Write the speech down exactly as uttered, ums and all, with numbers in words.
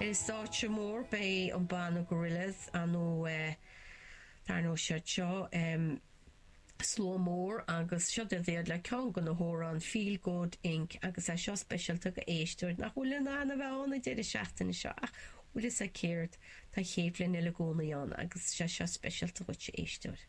Ar an stáitse mór beidh an banna Gorillaz nó dar ndóigh siad seo slua mór agus seo iad le ceann de na hamhráin Feel Good Inc agus é seo speisialta do éisteoir nach bhfuil in ann a bheith ann an deireadh seachtaine seo ach bhfuil a fhios agat céard tá chéad bhliain eile i gcónaí ann agus sé seo speisialta dhuit éisteoir.